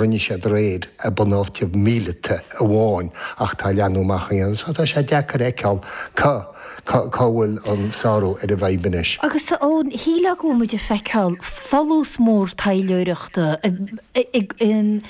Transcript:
rinne siad aréir i mbunáite míleata amháin ach tá leathnú amach á dhéanamh so tá sé deacair a fheiceáil cá cá bhfuil an sárú ar an bhfadhb anois. Agus a Eoin, shílfeá go bhfuil muid ag feiceáil folús mór taidhleoireachta in